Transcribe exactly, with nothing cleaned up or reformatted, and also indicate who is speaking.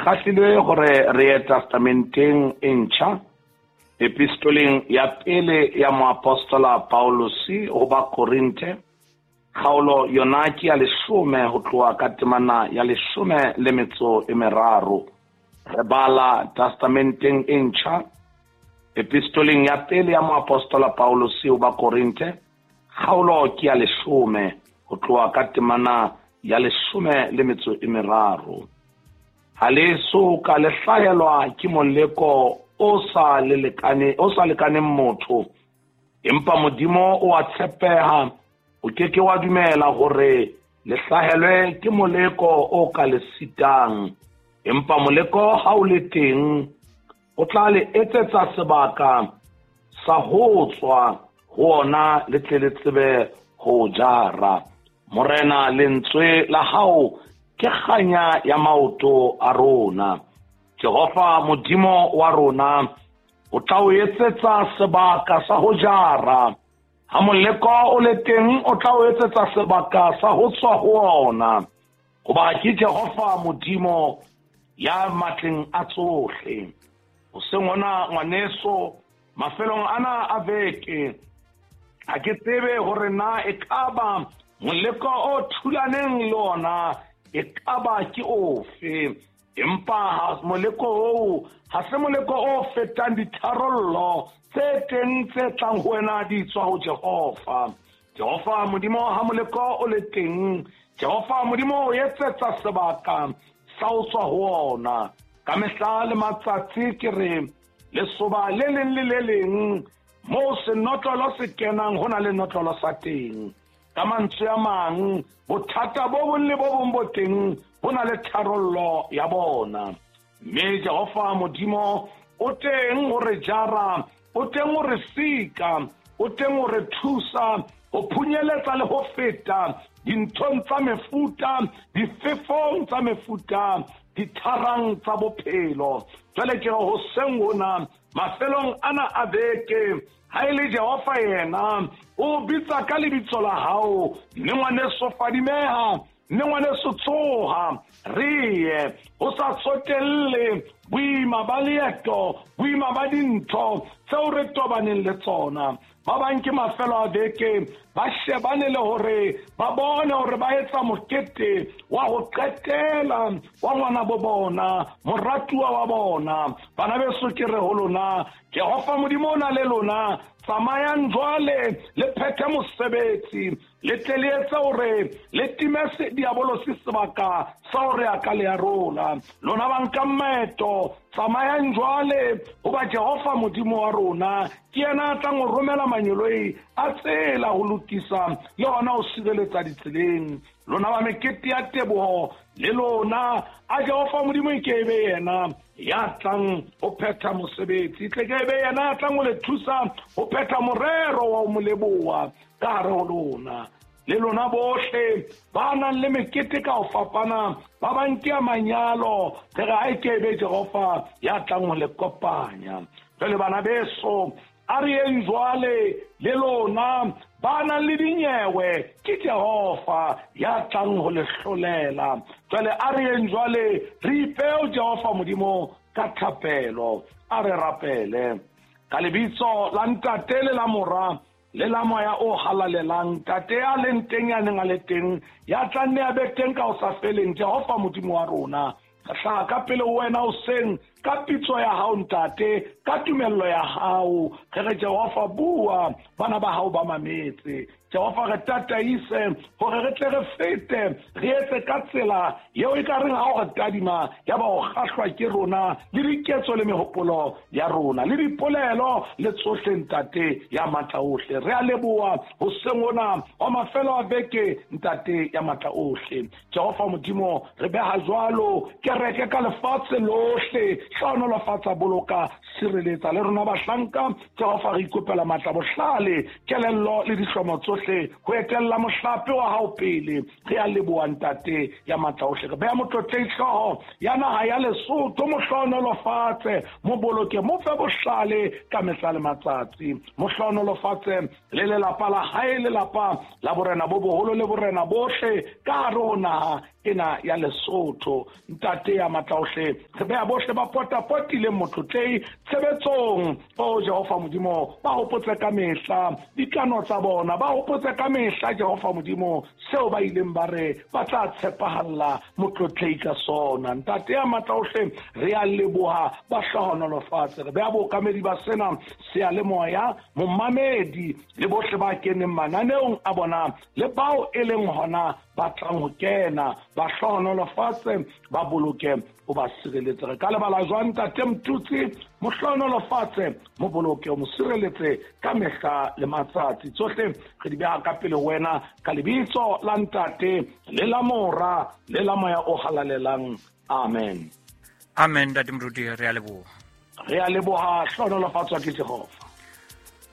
Speaker 1: kgahlilwe hore re ye testamenteng e ntjha, epistoleng ya pele ya moapostola Paulosi ho Bakorinthe, kgaolo yona ke ya leshome ho tloha ka temana ya leshome le metso e meraro. Re bala testamenteng e ntjha, epistoleng ya pele ya moapostola Paulosi ho Bakorinthe, kgaolo ke ya leshome ho tloha ka temana ya leshome le metso e meraro. Ha le so ka le hlahelwa ke moleko o sa le lekane, o sa lekaneng motho, empa Modimo o a tshepeha, o ke ke wa dumela hore le hlahelwe ke moleko o ka le sitang, empa moleko ha o le teng o tla le etsetsa sebaka sa ho tswa ho ona le tle le tsebe ho jara. Morena, lentswe la hao ke kganya ya maoto a rona. Jehova Modimo wa rona o tla o etsetsa sebaka sa ho jara. Ha moleko o le teng o tla o etsetsa sebaka sa ho tswa ho ona, hoba ke Jehova Modimo ya matleng a tsohle. Hoseng hona ngwaneso, mafelong ana a beke, ha ke tsebe hore na ekaba moleko o thulaneng le ona ekaba ke ofe, empa moleko oo ha se moleko o fetang ditharollo tse teng tse tlang ho wena di tswa ho Jehova. Jehova Modimo ha moleko o le teng, Jehova Modimo o etsetsa sebaka sa ho tswa ho ona. Ka mehla le matsatsi ke re lesoba le leng le le leng moo senotlolo se kenang ho na le notlolo sa teng. Ka mantswe a mang, bothata bo bong le bo bong bo teng bo na le tharollo ya bona. Mme Jehova Modimo o teng ho re jara, o teng ho re sika, o teng ho re thusa ho phunyeletsa le ho feta dinthong tsa mefuta, difefong tsa mefuta, ditharang tsa bophelo. Jwale ke re hoseng hona, mafelong ana a beke, ha e le Jehova yena o bitsa ka lebitso la hao, mme ngwaneso fadimeha, mme ngwaneso tsoha, re ye ho sa tsotelle boima ba leeto, boima ba dintho tseo re tobaneng le tsona. Ba bang ke mafelo a beke ba shebane le hore ba bone hore ba etsa mokete wa ho qetela wa ngwana bo bona, moratuwa wa bona. Bana beso, ke re ho lona, Jehova Modimo o na le lona. Tsamayang jwale le phethe mosebetsi, le tle le etse hore le time diabolosi sebaka sa hore a ka le arola. Lona ba nkang maeto, tsamayang jwale, hoba Jehova Modimo wa rona ke yena a tlang ho romela manyoloi a tsela ho lokisa le hona ho sireletsa ditseleng. Lona ba mekete ya teboho, le lona a Jehova Modimo e ke be yena ya tlang ho phetha mosebetsi, tle ke be yena ya tlang ho le thusa ho phetha morero wa ho mo leboha ka hare ho lona. Le lona bohle ba nang le mekete ka ho fapana, ba bang ke ya manyalo, re re ha e ke be Jehova ya tlang ho le kopanya. Jwale bana beso, a re yeng jwale le lona ba nang le dinyewe, ke Jehova ya tlang ho le hlolela. Jwale a re yeng jwale re ipeo Jehova Modimo ka thapelo. A re rapele ka lebitso la Ntate le la Mora le la Moya o halalelang. Ntate ya leng teng, ya neng a le teng, ya tla nne a be teng ka ho sa feleng, Jehova Modimo wa rona, re hlaha ka pele ho wena hoseng ka pitso ya hao Ntate, ka tumello ya hao. Re re Jehova, bua, bana ba hao ba mametse. Jehova, re tataise hore re tle re fete, re etse ka tsela eo e ka reng ha o re tadima ya ba o kgahlwa ke rona le diketso le mehopolo ya rona le dipolelo le tsohle, Ntate ya matla ohle. Re a leboha hoseng hona wa mafelo a beke, Ntate ya matla ohle. Jehova Modimo, re beha jwalo kereke ka lefatshe lohle, hlohonolofatsa, boloka, sireletsa le rona bahlanka. Jehova, re ikopela matla, bohlale, kelello le dihlomo tsohle ho etella mohlape wa hao pele. Re a leboha Ntate ya matla ohle. Re beha motlotlehi hlooho ya naha ya Lesotho, mo hlohonolofatse, mo boloke, mo fe bohlale ka mehla le matsatsi. Mo hlohonolofatse le lelapa la hae, lelapa la borena bo boholo le borena bohle ka hare ho naha ena ya Lesotho. Ntate Ntate ya matlaohle, re beha bohle ba potapotileng Motlotlei tshebetsong. O Jehova Modimo, ba hopotse ka mehla dikano tsa bona, ba hopotse ka mehla Jehova Modimo seo ba ileng ba re ba tla tshepahalla Motlotlei ka sona. Ntate ya matlaohle, re a leboha, ba hlohonolofatse. Re beha bookamedi ba sena seyalemoya, momamedi le bohle ba keneng mananeong a bona le bao e leng hona ba tlang ho kena, ba hlohonolofatse, ba boloke, o ba sireletse. Re ka lebala jwang Ntate Mtutsi? Mo hlohonolofatse, mo boloke, o mo sireletse ka mehla le matsatsi. Tsohle re di beha ka pele ho wena ka lebitso la Ntate le la Mora le la Moya o Halalelang. Amen.
Speaker 2: Amen, Ntate Moruti, re a leboha.
Speaker 1: Re a leboha, hlohonolofatswa ke Jehova.